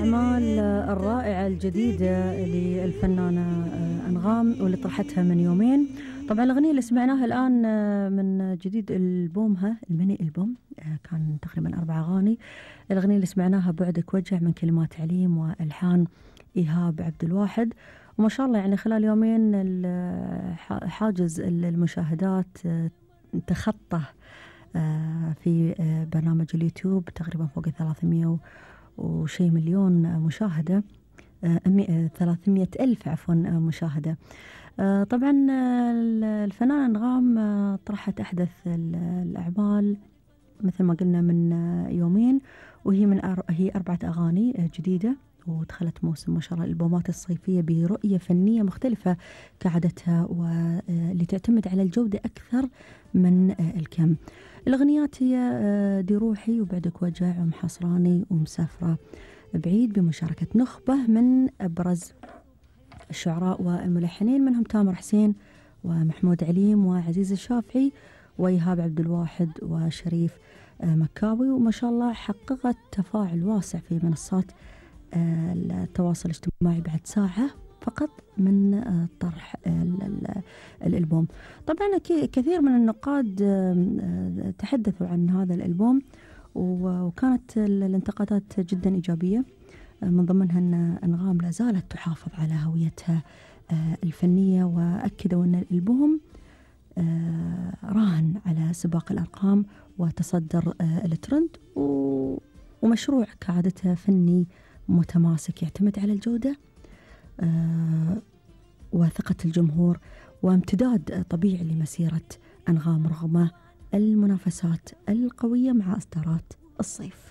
الأعمال الرائعة الجديدة للفنانة أنغام واللي طرحتها من يومين. طبعا الأغنية اللي سمعناها الآن من جديد ألبومها الميني ألبوم، كان تقريبا 4 أغاني. الأغنية اللي سمعناها بعدك وجع من كلمات عليم وألحان إيهاب عبد الواحد. وما شاء الله يعني خلال يومين حاجز المشاهدات تخطى في برنامج اليوتيوب تقريبا فوق 300 وشي مليون مشاهدة، 300 ألف عفوا مشاهدة. طبعا الفنانة أنغام طرحت أحدث الأعمال مثل ما قلنا من يومين، وهي هي 4 أغاني جديدة، ودخلت موسم ما شاء الله الألبومات الصيفية برؤية فنية مختلفة كعادتها، واللي تعتمد على الجودة أكثر من الكم. الأغنيات هي دي روحي وبعدك وجع ومحصراني ومسافرة بعيد، بمشاركة نخبة من أبرز الشعراء والملحنين، منهم تامر حسين ومحمود عليم وعزيز الشافعي وإيهاب عبد الواحد وشريف مكاوي. وما شاء الله حققت تفاعل واسع في منصات التواصل الاجتماعي بعد ساعة فقط من طرح الألبوم. طبعا كثير من النقاد تحدثوا عن هذا الألبوم، وكانت الانتقادات جدا إيجابية، من ضمنها أن أنغام لا زالت تحافظ على هويتها الفنية، وأكدوا أن الألبوم راهن على سباق الأرقام وتصدر الترند، ومشروع كعادتها فني متماسك يعتمد على الجودة وثقة الجمهور وامتداد طبيعي لمسيرة أنغام رغم المنافسات القوية مع إصدارات الصيف.